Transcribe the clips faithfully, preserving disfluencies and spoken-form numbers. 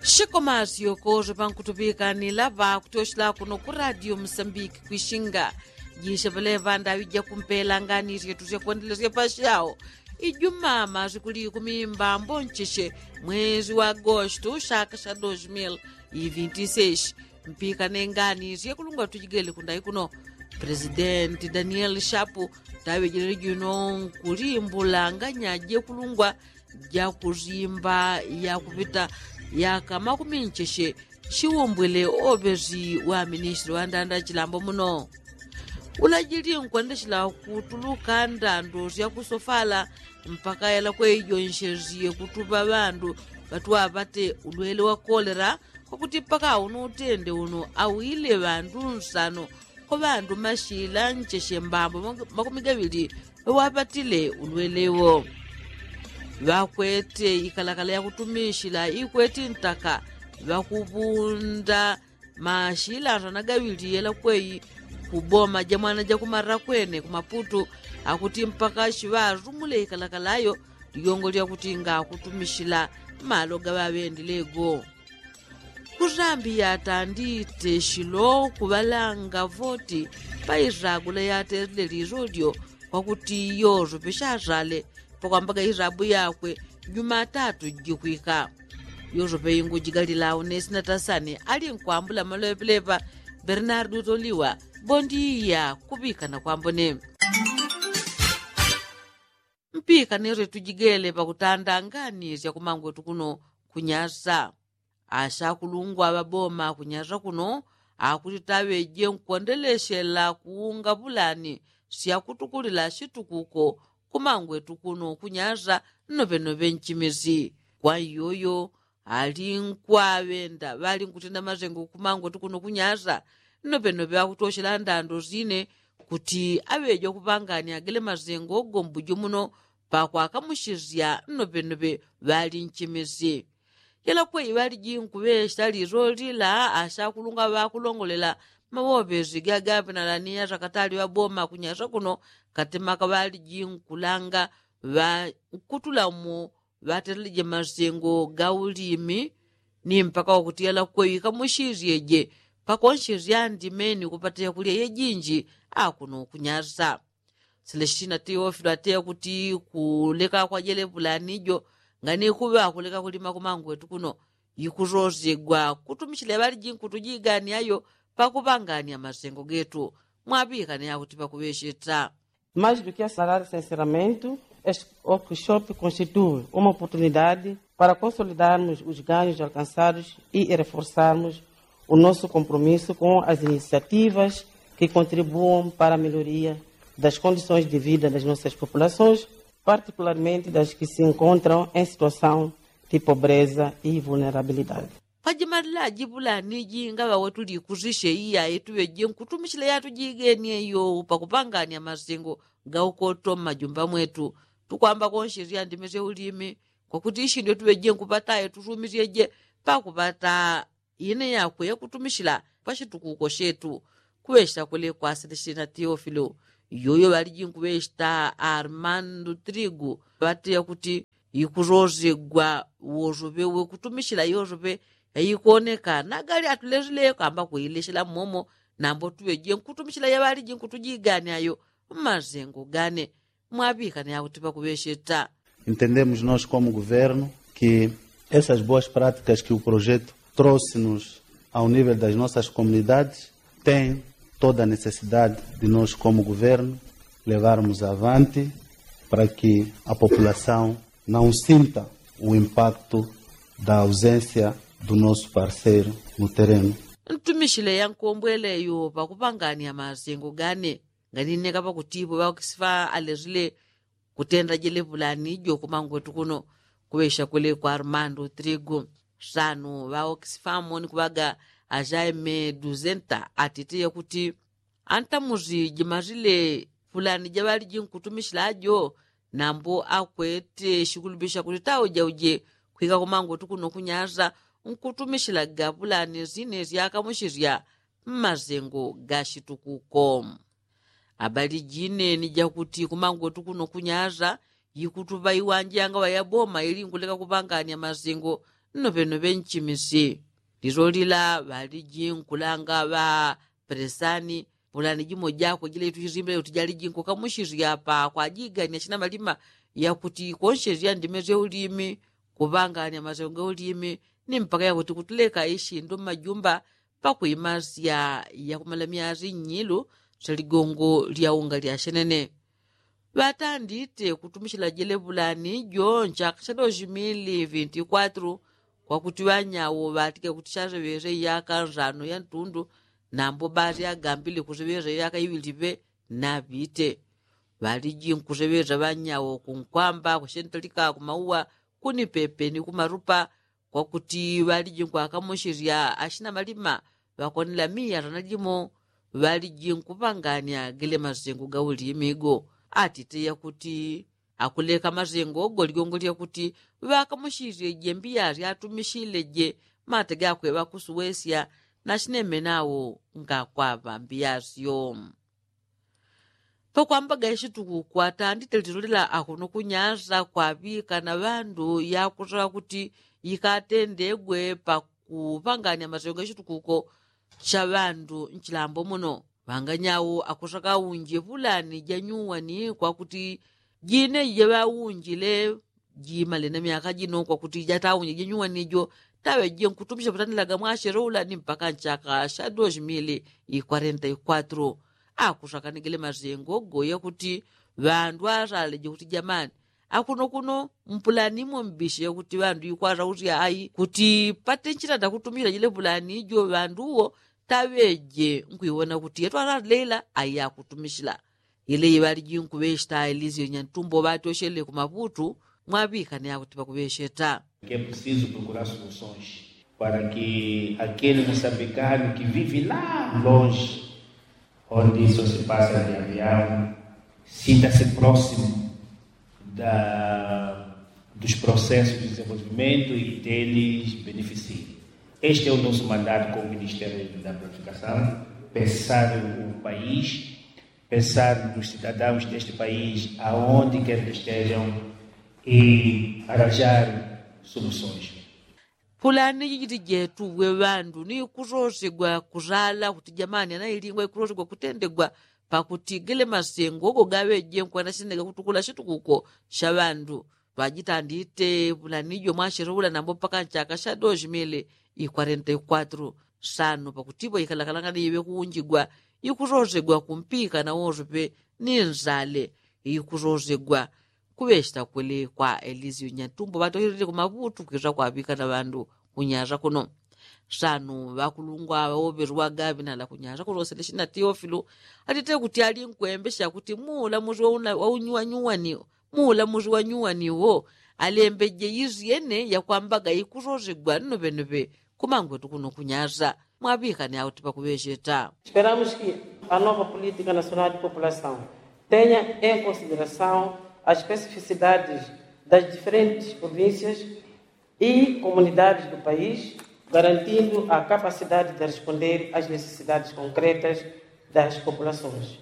Shikomasyoko syopankutupikanila pakutyosila kuno ku radio musambiki kwishinga. Jishe palepa ndaŵi jakumpela ngani syetu syakwendelesya pasyawo. Ijuma masiku likumi mbambo ncheshe mwezi wa agosto shaka sha dos mil ivinti seshi. Mpikane ngani syekulungwa tujigele kundai kuno. Presidenti danieli shapu taŵejele juno nkulimbula nganya jekulungwa jakusimba yakupita yaka makumi ncheshe. Shiwombwele oŵesi wa ministri wa ndanda chilambo muno. Ulajili nkwendeshela kutuluka ndando syakusofala mpaka yalakwe ijonshesye kutupa ŵandu ŵatwapate ulwele wa kolera. Kwakuti mpaka uno utende uno awile ŵandu nsano kwa ŵandu mashila ncheshe mbambo makumi gaŵili ŵawapatile ulwele wo. Ŵakwete ikalakala yakutumishila ikweti ntaka ŵakupunda mashila nsana gaŵili yelakweyi kuboma jamwana jakumara kwene kumaputu. Akuti mpaka shiŵazumule ikalakala yo ligongo lyakuti ngakutumishila malo gaŵaŵendile go. Kuzambi yatandite shilo kuŵalanga voti pa isagula yaterile liso lyo kwakuti yoso peshasale pakwambaga isabu yakwe jumatatu jikwika. Yoso peingujigalila unesi na tasani ali nkwambula maloŵe pelepa. Bernardu toliwa bondiya kuŵikana kwambone. Mpikane sye tujigele pakutanda ngani syakumangwetu kuno kunyasa. Ashakulungwa ŵaboma kunyasa kuno akuti taŵeje nkwendelesyela kuunga pulani syakutukulila shitukuko kumangwetu kuno kunyasa. Nnoŵenoŵe nchimisi kwa iyoyo ali nkwaŵenda ŵali nkutenda masengo kumangwetu kuno kunyasa. Nnoŵenoŵe akutoshela ndando sine kuti aŵeja kupangania gele masengo gombujo muno pakwakamushisya nnoŵenoŵe ŵali nchimisi. Yelakweyi ŵaliji nkuŵesya liso lila ashakulungwa ŵakulongolela mawoŵesi gagaŵenalaniya sakatali ŵaboma kunyasa kuno katemaka ŵaliji nkulanga ŵankutulamo ŵateleleje masengo ga ulimi ni mpaka wakuti yalakweyi kamushisyeje pakonshesya ndimeni kupata yakulya yejinji. Akuno kunyasa selestina teofilo ateya kuti kuleka kwajele pulani jo ngani kuŵa kuleka kulima kumangwetu kuno. Ikusosegwa kutumishila ŵaliji nkutujiganiayo pakupangania masengo getu. Mwaŵikane akuti pakuŵesheta. Mais do que assalar o censuramento, este workshop constitui uma oportunidade para consolidarmos os ganhos alcançados e reforçarmos o nosso compromisso com as iniciativas que contribuam para a melhoria das condições de vida das nossas populações, particularmente das que se encontram em situação de pobreza e vulnerabilidade. Pajimalila jipulani jingaŵa watulikusisye iya yetuŵeje nkutumishila yatujigenie iyo pakupangania masengo gaukoto mmajumba mwetu. Tukwamba konshesya ndime sya ulimi kwakuti ishindwe tuŵeje nkupata yetusumisyeje pakupata ine yakwe yakutumishila pashitukuko shetu. Kuŵeshita kule kwa selestina teofilo iyoyo ŵaliji nkuŵeshita armando trigu ŵateya kuti ikusosegwa wosoŵe wekutumishila yosoŵe yaikooneka nagali atulesile kamba kuileshela mmomo. Nambo tuŵeje nkutumishila yaŵaliji nkutujigania yo mmasengo gane. Mwaŵikane akuti pakuŵesheta. Entendemos nós como governo que essas boas práticas que o projeto trouxe-nos ao nível das nossas comunidades tem toda a necessidade de nós como governo levarmos avante para que a população não sinta o impacto da ausência do nosso parceiro no terreno. Ntumishile yankombweleyo pakupangania masengo gane nganineka pakutipo ŵaokisifa alesile kutenda jele pulani jo kumangwetu kuno. Kuŵesha kule kwa armando trigu sanu ŵaokisifa moni kuŵaga ajaime duzenta atiteya kuti antamusi jimasile pulani jaŵaliji nkutumishila jo nambo akwete shikulupisha kuti tauje uje kwika kumangwetu kuno kunyasa nkutumishila gapulani sine syakamushisya mmasengo gashitukuko. Abali jine ni jakuti kumangwetu kuno kunyasa yikutuŵa iwanje yangaŵa yaboma ili nkuleka kupangania masengo Nnoŵenoŵe nchimisi lilolila ŵaliji nkulanga ŵa pelesani. Pulani jimo jako jila ituchisimbe uti jaliji nkukamuchisya pa kwajigania china malima yakuti konchesya ndime sya ulimi, kuŵangania masengo ga ulimi, ni mpaka yakuti kutuleka ishindo mmajumba pakwimasya yakumala myasi nnyilu sya ligongo lya unga lya shenene. Ŵatandite kutumichila jele pulani jo nchaka cha dosi mili vinti kwatru, kwakuti ŵanyawo ŵatike kuti chaseŵese iyaka nsano ya ntundu, nambo basi agambile kuseŵesa iyaka iŵiliŵe. Naŵite ŵaliji nkuseŵesa ŵanyawo kunkwamba kushentalika kumauwa, kunipepe ni kumarupa, kwakuti ŵaliji nkwakamuchisya achina malima ŵakonela miya sana jimo. Ŵaliji nkuŵangania gele masengo ga ulimi go. Atite yakuti akuleka masengo go ligongo lyakuti ŵakamuchisye jembiya syatumichile je mate gakwe ŵakusuŵesya. Nachineme nawo ngakwaŵa mbiyasyo. Pakwambaga ishitukuko atandite lilolela akuno kunyasa kwaŵika na ŵandu yakusaka kuti ikatendegwe pakuŵangania masengo ga ishitukuko cha ŵandu nchilambo muno. Ŵanganyawo akusaka unje pulani janyuwani kwakuti jine jaŵaunjile jimale na myaka jino kwakuti jataunje janyuwani jo taŵeje nkutumisha patanilaga mwasheroula ni mpaka nchaka sha dosi mili ikwarenta ikwatru. Akusaka ni gele masengo goya kuti ŵandu asaleje kuti jamani akuno kuno mpulani imo mbishe kuti ŵandu ikwasausya ai kuti pate nchitanda kutumisha jile pulani jo ŵandu uwo taŵeje nkwiwona kuti yetwasaleila ai akutumishila. Ile iŵaliji nkuŵesheta elizio nyantumbo ŵatyoshele kumaŵutu mwaŵikane akuti pakuŵesheta. Que é preciso procurar soluções para que aquele moçambicano que vive lá longe, onde isso se passa de avião, sinta-se próximo da, dos processos de desenvolvimento e deles beneficie. Este é o nosso mandato como Ministério da Planificação, pensar o país, pensar nos cidadãos deste país, aonde quer que estejam, e arranjar soluções. Pulani jijiti jetu we ŵandu ni kusosegwa kusala kuti jamani anailingwa ikusosegwa kutendegwa pakuti gele masengo go gaŵeje nkwenda shinega kutukula shitukuko sha ŵandu. Ŵajitandite pulani jo mwasheroula nambo mpaka nchaka sha dosi mili ikwarenta ikwatru. Sano pakutipo ikalakalanga ni iŵe kuunjigwa ikusosegwa kumpika na wosope ni nsale ikusosegwa. Kuŵesheta kwele kwa elizio nyantumbo ŵatoherere kumaŵutu kwisa kwaŵika na ŵandu kunyasa kuno. Sano ŵakulungwa ŵawoŵeswa gaŵinala kunyasa kuno seleshina teofilu atite kuti ali nkwembesha kuti muulamuzi waunyuwanyuwani muulamuzi wanyuwani wo alembeje isyene yakwambaga ikusosegwa nnoŵenoŵe kumangwetu kuno kunyasa. Mwaŵikane auti pakuŵesheta. Esperamos que a nova política nacional de população tenha em consideração as especificidades das diferentes províncias e comunidades do país, garantindo a capacidade de responder às necessidades concretas das populações.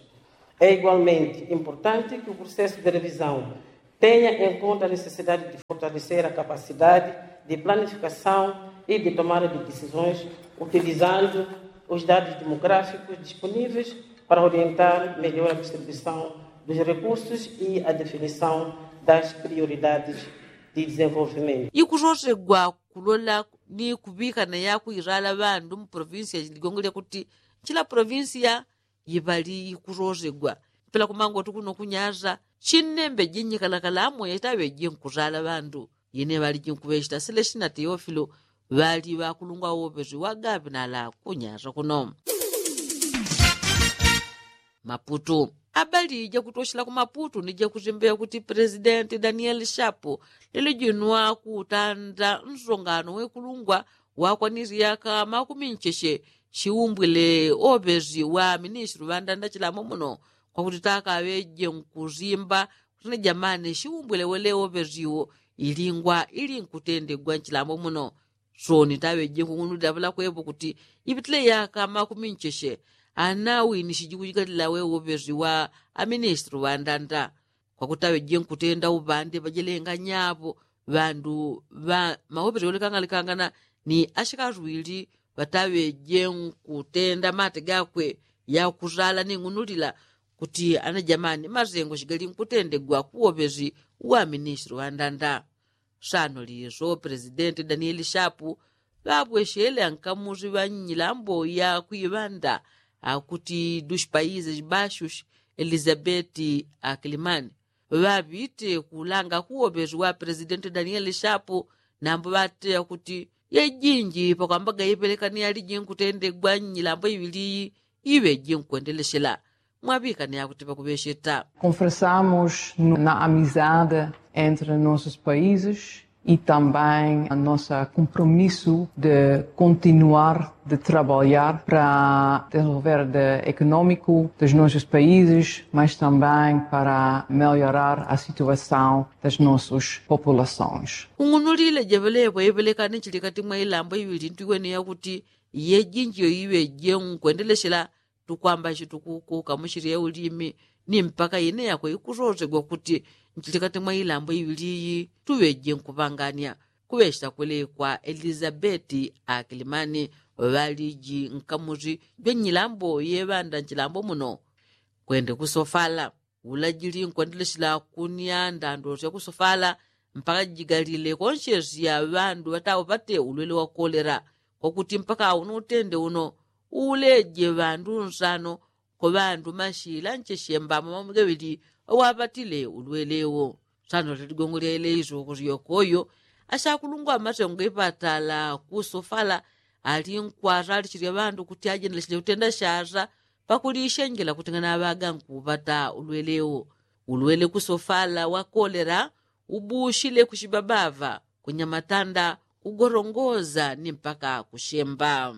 É igualmente importante que o processo de revisão tenha em conta a necessidade de fortalecer a capacidade de planificação e de tomada de decisões utilizando os dados demográficos disponíveis para orientar melhor a distribuição dos recursos e a definição das prioridades de desenvolvimento. Ikusosegwa kulola ni kuŵikana yakuisala ŵandu mu provinsia ligongo lyakuti nchila provinsia iŵali ikusosegwa. Mpela kumangotu kuno kunyasa chinnembeje nyikalakala amwe taŵeje nkusala ŵandu. Yene ŵaliji nkuŵesheta seleshina teofilo ŵali ŵakulungwa woŵesi wagaŵinala kunyasa kuno. Maputu. Abali jakutoshela ku maputu ni jakusimbeya kuti presidenti danieli shapu lelo jino akutanda nsongano wekulungwa wakwanisi yaka makumi ncheche shiumbwile oŵesi wa ministri ŵandanda chilambo muno kwakuti takaŵeje nkusimba kuti na jamani shiumbwile wele oŵesi wo ilingwa ili nkutendegwa nchilambo muno. Soni taŵeje nkung'unulila ŵalakwepo kuti ipitile yaka makumi ncheche anawinishiji kujikalila we uŵesi wa aministri ŵandanda. Kwakuti taŵeje nkutenda uŵande ŵajelenganyapo ŵandu ŵa mawopeto yolekangalekangana ni ashikazi wili ŵataŵeje nkutenda mate gakwe yakusala ni ng'unulila kuti ana jamani masengo shigali nkutendegwa kuwopezi wa ministri wa ndanda. Sano liso presidenti danieli shapu ŵabweshele ankamuzi ŵa nyilambo ya kwiŵanda akuti dushi paizes bashus elizabeti akilimani ŵaŵite kulanga kuwopezi wa presidenti danieli shapu. Nambo ŵateya kuti yejinji pakwambaga ipelekani yaliji nkutendegwa nyilambo iŵili iyi iŵeji nkwendeleshela. Mwabikane yakuti pakuŵesheta. Conversamos na amizade entre nossos países e também a nossa compromisso de continuar de trabalhar para desenvolver de económico dos nossos países, mas também para melhorar a situação das nossas populações. Ung'unulile jevelepo ipelekani chilikati mwa ilambo iŵili ntiwene yakuti yejinji yoiŵeje nkwendeleshela tukwamba chitukuku kamuchili ya ulimi ni mpaka ine yako ikusosegwa kuti nchilikati mwa ilambo iŵili iyi tuŵeje nkupangania. Kuŵechita kwelekwa elizabeti akilimani ŵaliji nkamuzi jwa nyilambo yeŵanda nchilambo muno kwende kusofala. Ulajili nkwendeleshela kunia ndando sya kusofala mpaka jigalile konshesi ya ŵandu ŵataupate ulwele wa kolera. Kwakuti mpaka uno utende uno uleje ŵandu nsano kwa ŵandu mashila ncheshemba mamamwigawili ŵawapatile ulwele wo. Sano lya ligongo lya ileiso kusyoko yo ashakulungwa amasengo ipatala kusofala ali nkwasa alichilya ŵandu kuti ajendelechile kutenda shasa pakulishenjela kuti nganaŵaga nkupata ulwele wo. Ulwele kusofala wa kolera ubushile kushibabava kunyamatanda kugorongoza ni mpaka kushemba.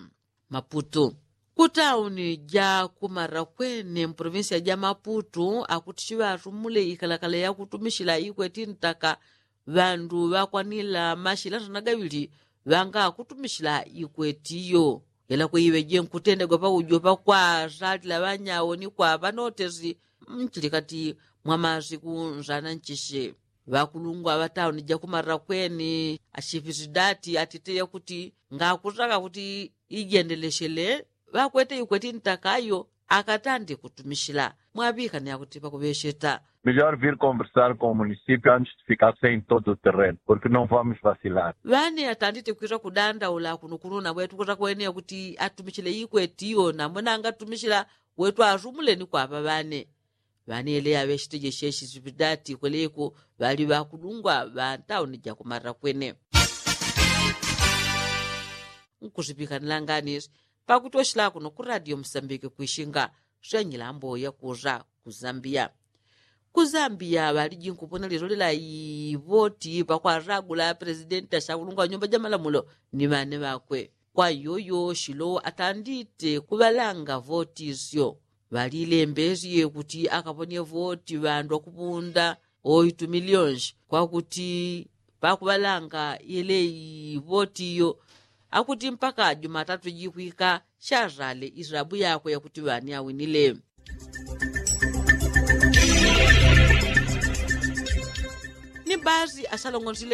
Maputu kutauni ja kumarakwene mprovinsia ja maputu akuti chiŵasumule ikalakala yakutumishila ikweti ntaka. Ŵandu ŵakwanila mashila nsana gaŵili ŵanga akutumishila ikweti iyo. Yela kwiŵeje nkutendegwa paujo pakwasalila ŵanyawo ni kwaŵa notesi mchilikati mwa masiku nsana nchishe. Ŵakulungwa ŵa tauni ja kumarakwene ashipisidati atiteya kuti ngakusaka kuti ijendeleshele ŵakwete ikweti ntaka iyo akatande kutumishila. Mwabikane yakuti pakuŵesheta. Melhor vir conversar com o municipio antes de ficar sem todo o terreno porque não vamos vacilar. Ŵane atandite kwisa kudandaula kuno kuno nabwe tukusa kweneya kuti atumishile ikweti iyo nambwe nangatumishila. Wetwasumule ni kwaŵa ŵane. Ŵaneleya ŵeshiteje sheshisipidati kweleko ŵali ŵakudungwa ŵa ntauni jakumarakwene. Nkusipikanila nganisi pakuti oshila kuno ku radio musambike kwishinga swenyila mboya kusa ku zambia. Ku zambia ŵaliji nkupona lelo lela ivoti pakwasagula presidenti ashakulungwa nyumba jamalamulo ni ŵane ŵakwe. Kwa yoyo shilo atandite kuŵalanga voti syo ŵalilembesye kuti akaponye voti ŵandu akupunda oitu milionshi kwakuti pakuŵalanga yele ivoti iyo. Akuti mpaka jumatatu jikwika shasale isabu yakwe yakuti ŵani awinile. Ni basi asalongonsile.